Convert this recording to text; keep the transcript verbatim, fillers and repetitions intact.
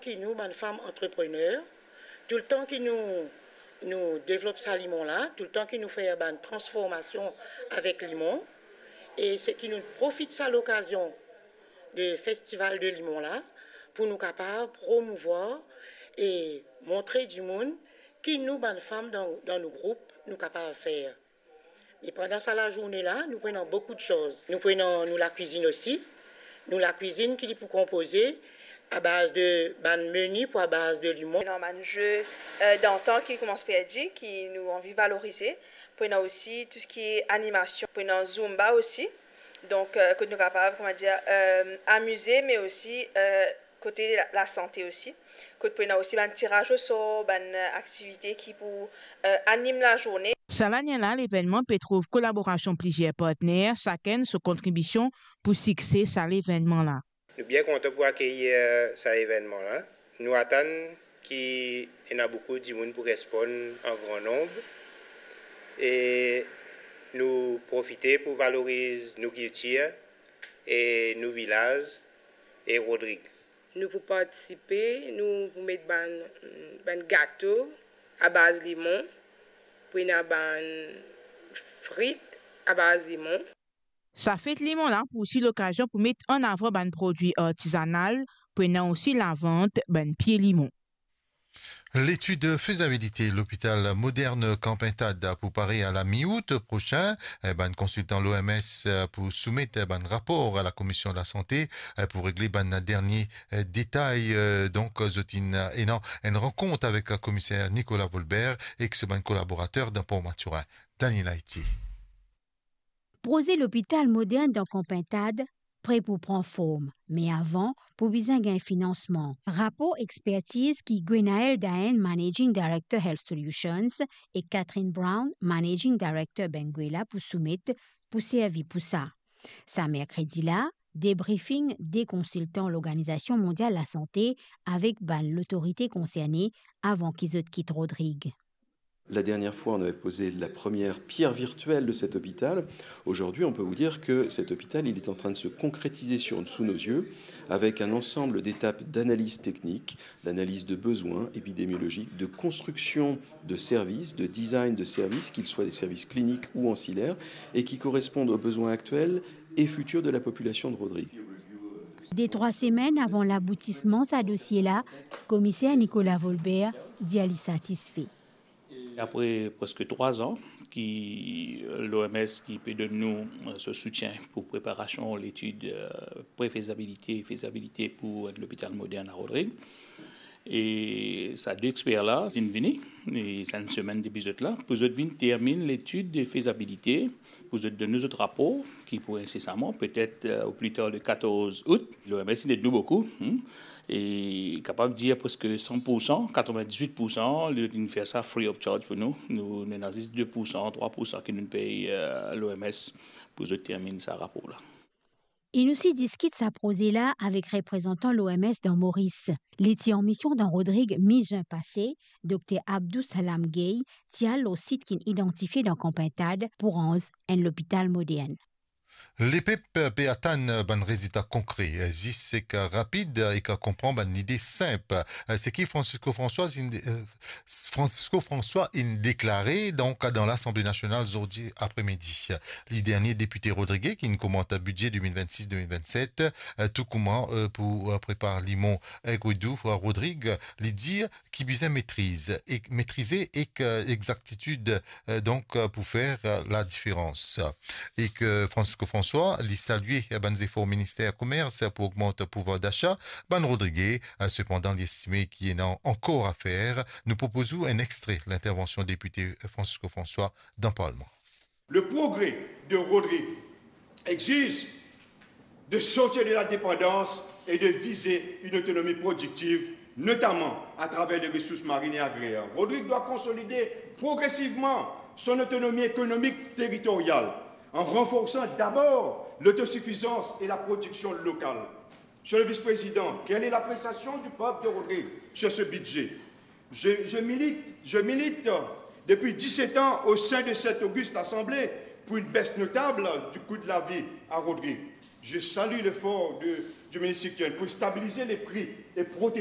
Ki nou, bann fam antreprener, toultan ki nou, nou devlop sa limon la, toultan ki nou fer bann transformasion avek limon, e se ki nou profit sa lokazion de festival de limon la, pou nou kapav promouvwar e montre dimoun ki nou, bann fam dan, dan nou group, nou kapav fer. E pandan sa lazourne la, nou pou ena boukou de soz. Nou pou ena nou lakwizinn osi. Nou lakwizinn ki li pou konpoze abaz de bann meni pou abaz de limon. Ena bann ze, euh, dantan ki koumans perdi, ki nou anvi valorize. Pou ena osi tou seki animasion, pou ena zumba osi. Donk, euh, kot nou kapav, kouma dir, euh, amize, me osi, euh, kote la, lasante osi, kot pou ena osi bann tiraz osor, bann, euh, aktivite ki pou, euh, anim lazourne. Sa lane la, levennman pe trouv kolaborasion plizier partner, sakenn so kontribision pou sikse sa levennman la. Nou bien kontan pou akeyir, euh, sa evennman la. Nou atann ki ena boukou dimoun pou responn an gran nonb e nou profite pou valoriz nou kiltir e nou vilaz e Rodrig. Nou pou partisipe, nou pou met bann, bann gato abaz limon, pou ena bann frit abaz limon. Sa fet limon la pou osi lokazion pou met an avan bann prodwi artizanal, pou ena osi lavant bann pie limon. Letid fezabilite lopital modern Kanpintad pou pare a la mi-out prosin. Eh, bann konsiltan l'O M S pou soumet bann rapor a la Komision Lasante pou regle bann dernie detay. Donk, zot inn ena enn rankont avek komiser Nicolas Volbert ek so bann kolaborater dan Port Mathurin. Daniel Haiti. Proze lopital modern dan Kanpintad pre pou pran form, me avan, pou bizin gagn finansman. Rapor expertiz ki Gwenaël Daen, Managing Director Health Solutions, e Catherine Brown, Managing Director Benguela, pou soumet, pou servi pou sa. Sa merkredi la, debriefing de konsiltan Lorganizasion Mondial Lasante avek bann lotorite konserne avan ki zot kit Rodrig. La dernière fois, on avait posé la première pierre virtuelle de cet hôpital. Aujourd'hui, on peut vous dire que cet hôpital, il est en train de se concrétiser sur, sous nos yeux, avec un ensemble d'étapes d'analyse technique, d'analyse de besoins épidémiologiques, de construction de services, de design de services, qu'ils soient des services cliniques ou ancillaires, et qui correspondent aux besoins actuels et futurs de la population de Rodrig. De trwa semenn avan laboutisman sa dosie la, komiser Nicolas Volbert dir li satisfe. Apre preske trwa an ki, euh, l'O M S ki pe donn nou, euh, so soutien pou preparasion letid, euh, pre-fezabilite, fezabilite pou enn lopital modern a Rodrig. E sa de exper la, zot inn vini, e sa enn semenn depi zot la, pou zot vinn terminn letid de fezabilite, pou zot donn nou zot rapor, ki pou insesaman, petet, euh, au plus tard le quatorze août. L'O M S inn ed nou boukou, hmm, e kapav dir preske san pour san, katrevin-diz-wit pour san, li, li fer sa free of charge pou nou. Nou, nou ena zis de pour san, trwa pour san ki nou pey, euh, l'O M S pou zot terminn sa rapor la. Inn osi diskit sa proze la avek reprezantan l'O M S dan Moris. Li ti an mision dan Rodrig mi-zin pase, Dokter Abdou Salam Gueye ti al lor sit ki'nn idantifie dan Kanpintad pou ranz enn lopital modern. Lepep pe atann bann rezilta konkre, zis ek rapid, ek konpran bann lide sinp. Seki Francisco François inn, Francisco François inn deklare, donk, dan Lasanble Nasional zordi apremidi. Li dernie depite rodrige ki'nn komant bidze de mil vennsis de mil vennset, tou kouma, eh, pou, eh, prepar limon Aigre-Doux, eh, Rodrig, li dir ki bizin metriz, ek, metrize ek, eh, exaktitid, eh, donk, eh, pou fer, eh, ladiferans. Ek Francisco François, li salie bann zefor Minister Komers pou ogmant pouvwar dasa bann rodrige. Sepandan, li estime ki ena ankor a fer. Nou propoz ou enn extre lintervansion depite Francisco François dan Parlman. Le progrès de Rodrigue exige de sortir de la dépendance et de viser une autonomie productive, notamment à travers les ressources marines et agraires. Rodrigue doit consolider progressivement son autonomie économique territoriale en renforçant d'abord l'autosuffisance et la production locale. Monsieur le Vice-Président, quelle est l'appréciation du peuple de Rodrigue sur ce budget ? Je, je milite, je milite depuis dix-sept ans au sein de cette auguste assemblée pour une baisse notable du coût de la vie à Rodrigue. Je salue l'effort de, du ministre Sicton pour stabiliser les prix et protéger